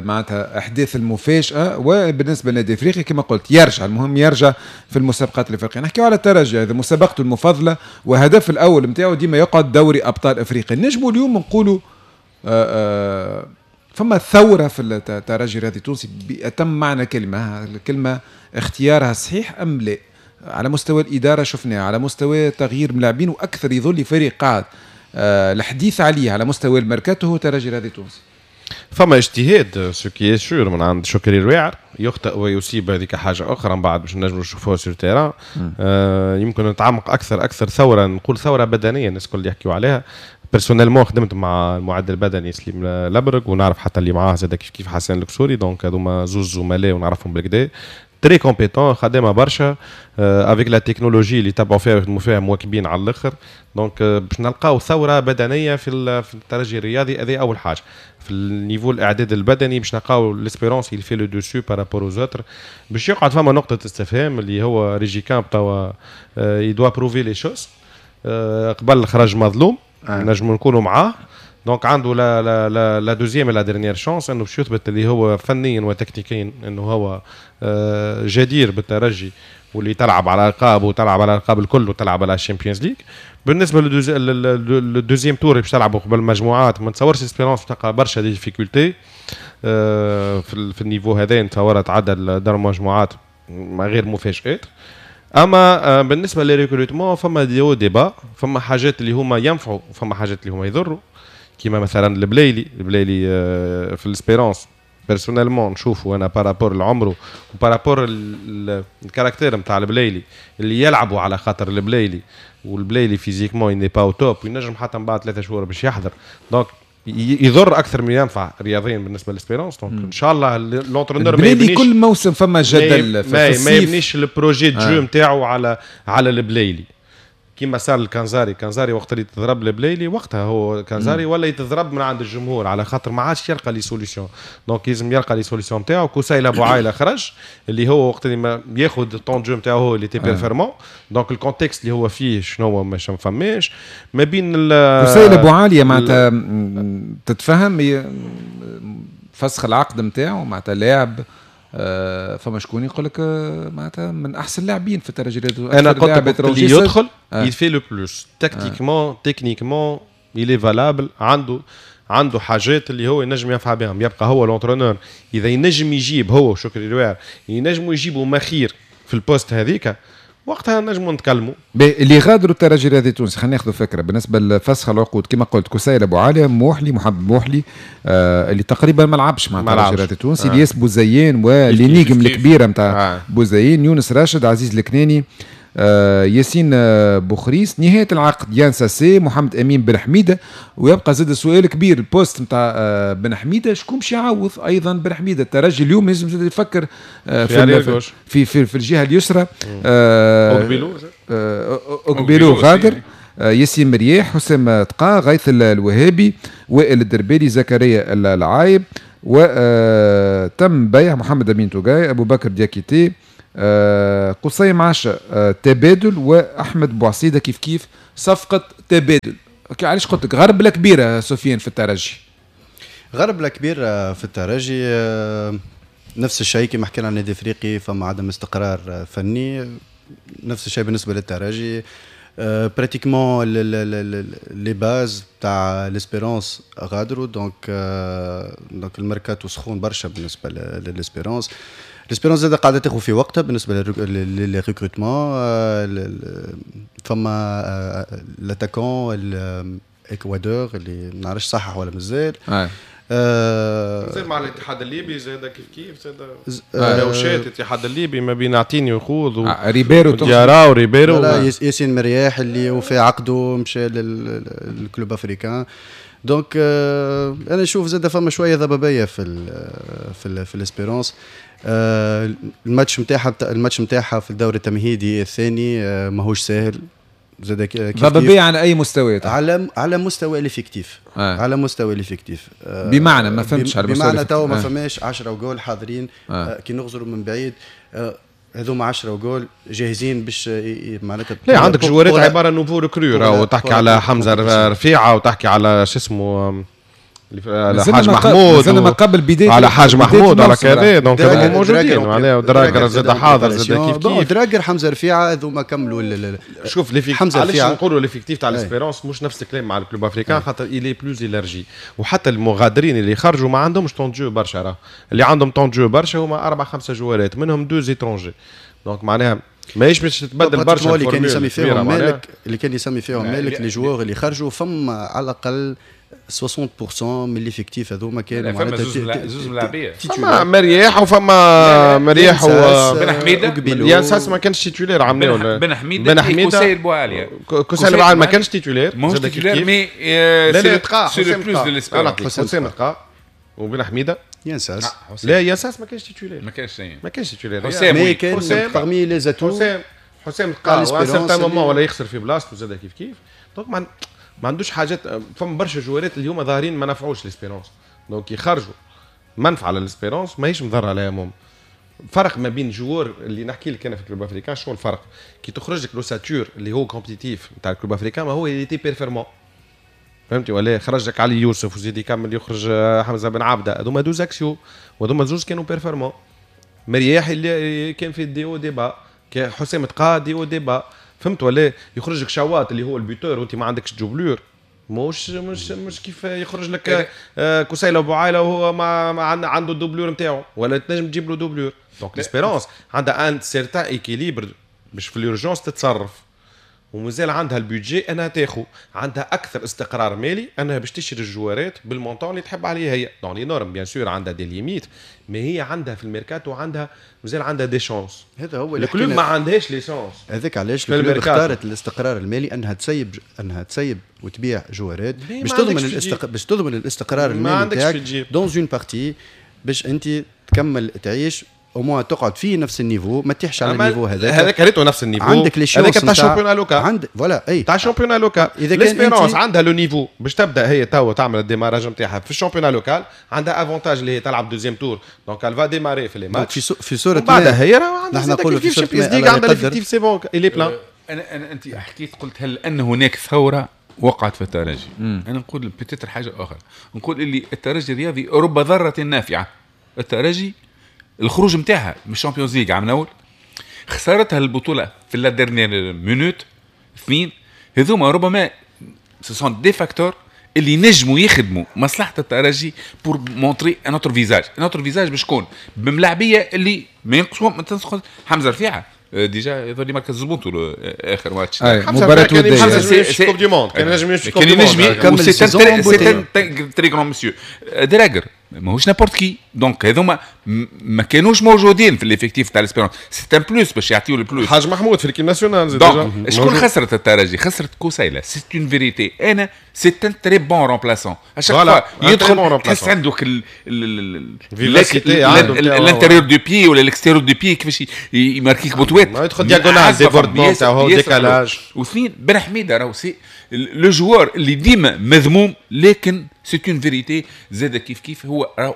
معناتها احداث المفاجاة. وبالنسبة للنادي الافريقي كما قلت يرجع، المهم يرجع في المسابقات الافريقية. نحكيو على الترجي، هذا مسابقته المفضلة وهدف الاول نتاعو ديما يقعد دوري ابطال افريقيا. نجموا اليوم نقولوا فما ثورة في الترجي الرياضي التونسي بأتم معنى الكلمة، الكلمة اختيارها صحيح أم لا؟ على مستوى الإدارة شفناه، على مستوى تغيير ملاعبين، وأكثر يظل فريق قاعد الحديث عليه على مستوى الميركاتو هو الترجي الرياضي التونسي. فما اجتهاد ce qui est sûr من عند شكري الواعر، يخطئ ويصيب، هذيك حاجة اخرى من بعد باش نجموا نشوفوها sur terrain. يمكن نتعمق اكثر ثورة، نقول ثورة بدنية الناس الكل يحكيوا عليها. personnellement خدمت مع المعد البدني سليم لبرق، ونعرف حتى اللي معاه زاد كيف كيف حسن الكسوري، donc هذوما زوز زملاء ونعرفهم بالكدا. très compétents، خدامه برشا avec la technologie اللي تبعوا فيها ويخدموا فيها، مواكبين على الاخر. donc باش نلقاو ثورة بدنية في الترجي الرياضي. هذه اول حاجة في ال niveau الاعداد البدني، باش نلقاو l'Espérance il fait le dessus par rapport aux autres. باش يقعد فما نقطة استفهام اللي هو ريجيكامب توا il doit prouver les choses. قبل خرج مظلوم، نجم نكونوا معاه. donc عنده la deuxième، la dernière chance انه باش يثبت اللي هو فنيا وتكتيكيا انه هو جدير بالترجي واللي تلعب على القاب وتلعب على الالقاب الكل وتلعب على ال Champions League. بالنسبة لل deuxième tour باش تلعبوا قبل المجموعات، ما نتصورش Espérance تلقى برشا difficultés في ال niveau هذا. نتصور تعدى دار المجموعات ما غير مفاجآت. اما بالنسبة لل recrutement فما des hauts، des bas، فما حاجات اللي هما ينفعوا وفما حاجات اللي هما يضروا، كيما مثلا البلايلي. البلايلي في ال Espérance personnellement نشوفه انا par rapport لعمره و par rapport ال caractère نتاع البلايلي اللي يلعبوا على خاطر البلايلي، والبلايلي physiquement n'est pas au top، وينجم حتى من بعد 3 شهور باش يحضر، donc يضر اكثر من ينفع رياضيا بالنسبة لل Espérance. donc ان شاء الله l'entraîneur ما يبنيش، كل موسم فما جدل. في ما يبنيش ال projet de jeu نتاعو على البلايلي كيما صار الكنزاري. كنزاري وقت اللي تضرب البلايلي، وقتها هو كنزاري ولا يتضرب من عند الجمهور على خاطر ما عادش يلقى les solutions. donc لازم يلقى les solutions نتاعو. كوسايل ابو عايله خرج، اللي هو وقت اللي ما ياخذ temps de jeu نتاعو هو اللي était performant. donc ال contexte اللي هو فيه شنو هو ما فماش ما بين كوسايل ابو عالية معناتها تتفهم فسخ العقد نتاعو، معناتها لاعب فما شكون يقول لك معناتها من احسن اللاعبين في الترجي. انا قلت لك اللي يدخل il fait le plus tactiquement، techniquement il est valable، عنده حاجات اللي هو ينجم ينفع بهم. يبقى هو l'entraîneur اذا ينجم يجيب، هو شكري الواعر ينجموا يجيبوا مخير في ال poste هذيك، وقتها نجموا نتكلموا. اللي غادروا الترجي الرياضي التونسي، خلينا ناخذ فكرة بالنسبة لفسخ العقود. كما قلت كسيل ابو عالية، موحلي، محمد موحلي اللي تقريبا ما لعبش مع الترجي الرياضي التونسي، الياس بوزيان و l'énigme الكبيرة نتاع بوزيان، يونس راشد، عزيز الكناني، ياسين بوخريس، نهاية العقد يان ساسي، محمد امين بن حميده. ويبقى زاد سؤال كبير ال poste نتاع بن حميده، شكون باش يعوض ايضا بن حميده؟ الترجي اليوم لازم زاد يفكر في الجهة اليسرى. اوكبيلو غادر، ياسين مرياح، حسام تقا، غيث الوهابي، وائل الدربالي، زكريا العايب، وتم بيع محمد امين توغاي، ابو بكر دياكيتي، قصي معاشة تبادل، واحمد بوعصيده كيف كيف صفقة تبادل. علاش قلت لك غربله كبيرة سفيان في الترجي؟ غربله كبيرة في الترجي، نفس الشيء كما حكينا عن النادي الافريقي فما عدم استقرار فني، نفس الشيء بالنسبة للترجي. pratiquement les bases تاع l'Espérance غادروا، donc ال mercato سخون برشا بالنسبة لل Espérance. l'Espérance زاد قاعدة تاخذ في وقتها بالنسبة لل recrutement. فما l'attaquant الاكوادور اللي ما نعرفش صحح ولا مازال. زي مع الاتحاد الليبي زاد كيف كيف زاد مناوشات الاتحاد الليبي ما بين اعطيني وخوذ و ريبيرو. ديارا وريبيرو. لا، ياسين مرياح اللي وفي عقده مشى لل Club Africain. donc انا نشوف زاد فما شوية ضبابية في ال Espérance. الماتش نتاعها في الدوري التمهيدي الثاني ماهوش ساهل زاد. ضبابية على اي مستوى؟ على مستوى l'effectif. على مستوى l'effectif. بمعنى ما فهمتش. على مستوى، بمعنى تو ما فماش 10 وجول حاضرين. كي نغزروا من بعيد هذوما 10 وجول جاهزين باش معناتها لا، عندك جوارات عبارة nouveaux recrues راهو، تحكي على حمزة رفيعة وتحكي على شو اسمه على حاج محمود. ما قبل بداية على حاج محمود، على كذا، donc موجودين معناها. دراجر زاد حاضر زاد كيف كيف. دراجر، حمزة رفيعه، هذوما كملوا. شوف l'effectif، حمزة علاش نقولوا l'effectif تاع l'Espérance مش نفس الكلام مع ال Club Africain؟ خاطر il est plus élargi، وحتى المغادرين اللي خرجوا ما عندهمش temps de jeu برشا. راه اللي عندهم temps de jeu برشا هما اربع خمسة جوارات، منهم deux étrangers، donc معناها ماهيش باش تتبدل برشا. اللي كان يسمي فيهم مالك، اللي كان يسمي فيهم مالك les joueurs اللي خرجوا، فما على الاقل 60% من l'effectif هذوما كانوا معناتها زوز ملاعبيه. فما مرياح وفما مرياح و بن حميده. يان ساس ما كانش titulaire عملوا. بن حميده، بن حميده، كوسيل بوعاليه. كوسيل بوعاليه ما كانش titulaire. ماهوش titulaire mais لا لا، تقا، c'est le plus de l'Espérance. حسام تقا وبن حميده. ينساس لا ينساس ما كانش titulaire، ما كانش، ما كانش titulaire. حسام كان parmi les atouts. حسام لقى certain moment ولا يخسر في بلاصته زاد كيف كيف. donc ما عندوش حاجات. فما برشا جوارات اللي هما ظاهرين ما نفعوش l'Espérance، donc يخرجوا منفعه لل Espérance ماهيش مضرة عليها. même فرق ما بين joueur اللي نحكي لك انا في Club Africain، شنو الفرق؟ كي تخرج لك l'ossature اللي هو compétitif نتاع ال Club Africain، ما هو اللي était performant، فهمتي ولا؟ خرج لك علي يوسف وزيد يكمل يخرج حمزة بن عبده، هذوما deux axiaux وهذوما زوز كانوا performants. مرياح اللي كان في des hauts des bas، حسام تقا des hauts des bas، فهمت ولا؟ يخرج لك شواط اللي هو ال buteur وانت ما عندكش doublure، مش مش مش كيف يخرج لك كسيله بوعايله وهو ما عنده ال doublure نتاعو ولا تنجم تجيب له doublure. donc l'Espérance عندها un certain équilibre باش في l'urgence تتصرف، ومازال عندها ال budget انها تاخو، عندها اكثر استقرار مالي انها باش تشري الجوارات بال montant اللي تحب عليه هي، dans les normes bien sûr، عندها des limites، mais هي عندها في الميركاتو عندها مازال عندها des chances. هذا هو اللي ال Club ما عندهاش les chances. هذاك علاش ال Club اختارت الاستقرار المالي انها تسيب وتبيع جوارات باش تضمن الاستقرار المالي نتاعك dans une partie، باش انت تكمل تعيش au moins تقعد في نفس ال niveau، ما تطيحش على ال niveau هذاك. هذاك ريتو نفس ال niveau عندك les chances هذاك تاع championnat local، عند voilà اي تاع championnat local. اذا كان l'Espérance عندها le niveau باش تبدا هي توا تعمل ال démarrage نتاعها في ال championnat local، عندها avantage اللي هي تلعب deuxième tour، donc elle va démarrer في les matchs في صوره بعدها هي راه عندها كيف Champions League، عندها l'effectif c'est bon il est plein. انا انت حكيت قلت هل ان هناك ثورة وقعت في الترجي؟ انا نقول peut-être حاجة اخرى، نقول اللي الترجي الرياضي رب ضارة نافعة. الترجي الخروج نتاعها من ال Champions League عام الاول، خسارتها البطولة في la dernière minute، اثنين هذوما ربما ce sont des facteurs اللي نجموا يخدموا مصلحة الترجي pour montrer un autre visage. un autre visage باش تكون بملاعبيه اللي ما ينقصوا ما تنقص. حمزة رفيعة déjà يظهر لي مركز زبونتو اخر ماتش مباراة وديه Coupe du monde، كان نجم يمشي كان نجم، c'est très grand monsieur دراجر ماهوش n'importe qui. donc هذوما ما كانوش موجودين في l'effectif تاع l'Espérance، c'est un plus باش يعطيو ال plus. حاج محمود في l'équipe nationale. donc شكون خسرت الترجي؟ خسرت كوسيلة، c'est une vérité. انا c'est un très bon remplaçant، à chaque fois يدخل تحس عندك l'intérieur du pied ولا l'extérieur du pied كيفاش يماركيك بوتوات، يدخل diagonale débordement تاعو décalage. واثنين بن حميده راهو c'est le joueur اللي ديما مذموم، لكن c'est une vérité زاد كيف كيف هو راهو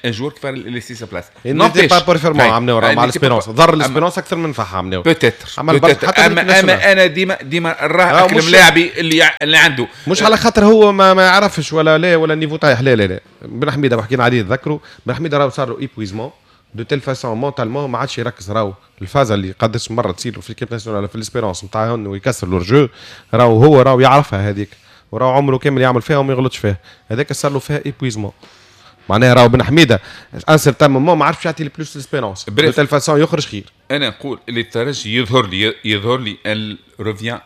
un joueur qui va laisser sa place. n'était pas performant عملناو مع l'Espérance، ضر l'Espérance اكثر من نفعها عملناو peut-être. اما انا ديما راه الملاعبي اللي عنده مش على خاطر هو ما يعرفش ولا لا ولا ال niveau طايح، لا لا لا. بن حميده حكينا عليه تذكروا، بن حميده راهو صار له épuisement de telle façon mentalement ما عادش يركز. راهو الفازة اللي قداش مرة تصير في l'équipe nationale في l'Espérance نتاع انه يكسر l'hors-jeu، راهو هو راهو يعرفها هذيك، وراهو عمره كامل يعمل فيها وما يغلطش فيها، هذاك صار له فيها épuisement. معناها راهو بن حميده un certain moment ما عرفش يعطي plus l'Espérance de telle façon يخرج خير. انا نقول اللي الترجي يظهر لي elle revient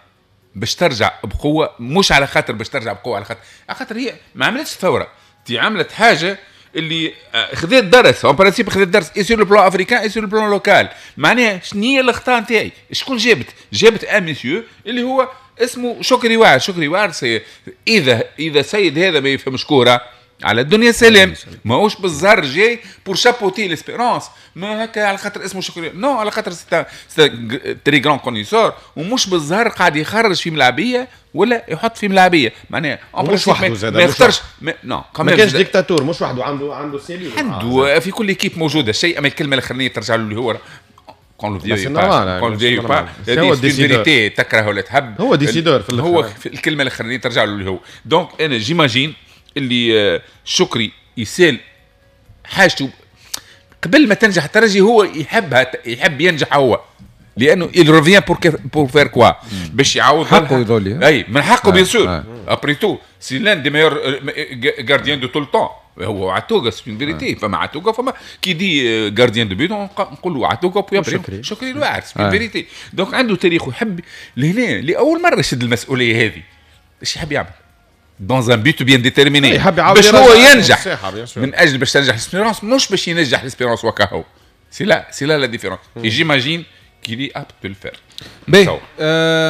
باش ترجع بقوة، مش على خاطر باش ترجع بقوة، على خاطر هي ما عملتش ثورة، دي عملت حاجة اللي خذيت درس en principe، خذيت درس et sur le plan africain et sur le plan local. معناها شنو هي الاخطاء نتاعي؟ شكون جابت un monsieur اللي هو اسمه شكري واعر. شكري واعر اذا سيد هذا ما يفهمش كورة على الدنيا سلام، ماهوش بالزهر جاي pour chapeauter l'Espérance، ما هكا على خاطر اسمه شكري، non على خاطر c'est très grand connaisseur، ومش بالزهر قاعد يخرج في ملاعبيه ولا يحط في ملاعبيه. معناها مش وحده زاد، ما يختارش non ما كانش ديكتاتور، مش وحده، عنده cellule، عنده في كل équipe موجودة شيء. اما الكلمة الاخرانية ترجع له اللي هو qu'on le veuille qu'on le veuille pas، vérité تكره ولا تحب، هو décideur في هو الكلمة الاخرانية ترجع له اللي هو. donc انا j'imagine اللي شكري يسال حاجته قبل ما تنجح الترجي، هو يحبها، يحب ينجح هو، لانه il revient pour faire quoi باش يعوض حقه يظل. اي من حقه bien sûr، après tout c'est l'un des meilleurs gardiens de tout le temps هو عتوقه، c'est une vérité. فما عتوقه، فما qui dit gardien de but نقولوا عتوقه puis après شكري الواعر، c'est une vérité. donc عنده تاريخ ويحب لهنا لاول مرة يشد المسؤولية هذه. ايش يحب يعمل dans un but bien déterminé باش هو ينجح من اجل باش تنجح l'Espérance، مش باش ينجح l'Espérance وكهو. c'est là la différence. et j'imagine qu'il est apte de le faire. باهي،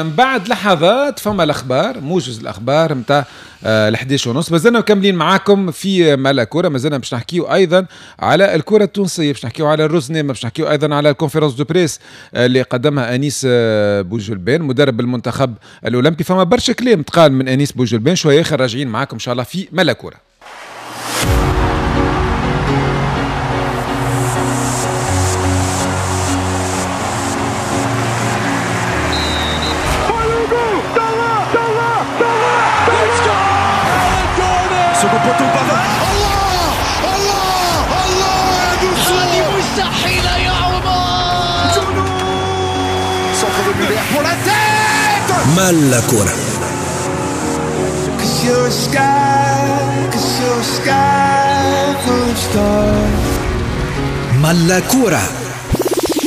بعد لحظات فما الاخبار، موجز الاخبار نتاع 11:30. مازلنا مكملين معاكم في مالا كورة، مازلنا باش نحكيو ايضا على الكره التونسيه، باش نحكيو على الرزنامه، باش نحكيو ايضا على ال conférence de presse اللي قدمها انيس بوجلبان مدرب المنتخب الاولمبي. فما برشا كلام تقال من انيس بوجلبان، شوية اخر راجعين معاكم ان شاء الله في مالا كورة. مستحيلة يا عمر. مالا كورة. مالا كورة.